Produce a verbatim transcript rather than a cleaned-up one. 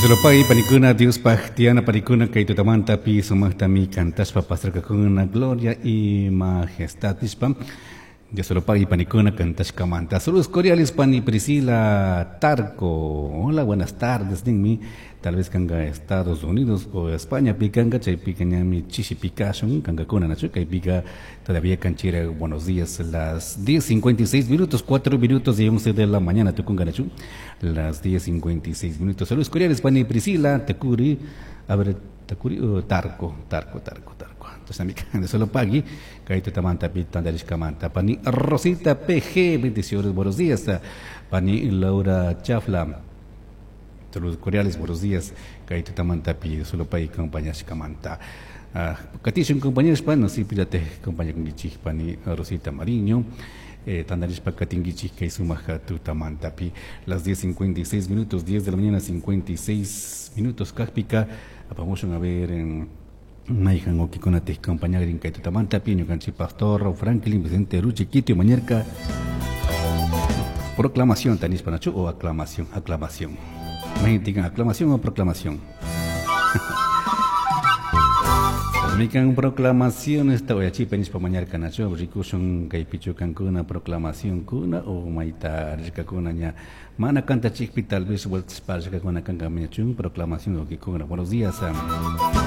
Dios panikuna, Diospaj tiyana panikuna kay tutamantapi sumaqtami kantashpa pasarkakuna gloria y majestad nishpa. Dios lo pague panikuna kantashkamanta. Saludos cordiales pani Priscila Tarco. Hola, buenas tardes ninmi. Tal vez kanga Estados Unidos o España pikanga chaypika ñami chishi pikashun kankakuna nachu kaypika todavía kanchira buenos días las diez cincuenta y seis minutos, cuatro minutos y once de la mañana tukunga nachu las diez cincuenta y seis minutos. Saludos cordiales pani Priscila Tacuri, a ver Tacuri o Tarco, Tarco, Tarco, Tarco. Entonces amiga de solo pagui kay tutamanta pi tandarishkamanta pani Rosita P G, bendiciones, buenos días pani Laura Chafla. Saludos cordiales, buenos días. Kay tutamantapi solo pay compañashkamanta. Ah, katishun compañeros pa no si pídate compañía con gichik pani Rosita Mariño. Eh, tandarishpa katingichik kay sumaja tutamantapi las diez cincuenta y seis minutos, diez de la mañana cincuenta y seis minutos kajpika. Apamushun a ver en Maijan okikuna te compañagrin kay tutamantapi ñukanchik pastor Franklin Vicente Ruchi Quito Mañerca. Proclamación tanispa nachu o aclamación, aclamación. Imagínate, aclamación o proclamación. Mikan proclamación esta voy a chipa nispa mañarca nacho rikushun kay pichu kankuna proclamación kuna o maita rikakuna ña mana kanta chikpi tal vez vueltas para rikakuna kanka mañachun proclamación o kikuna. Buenos días.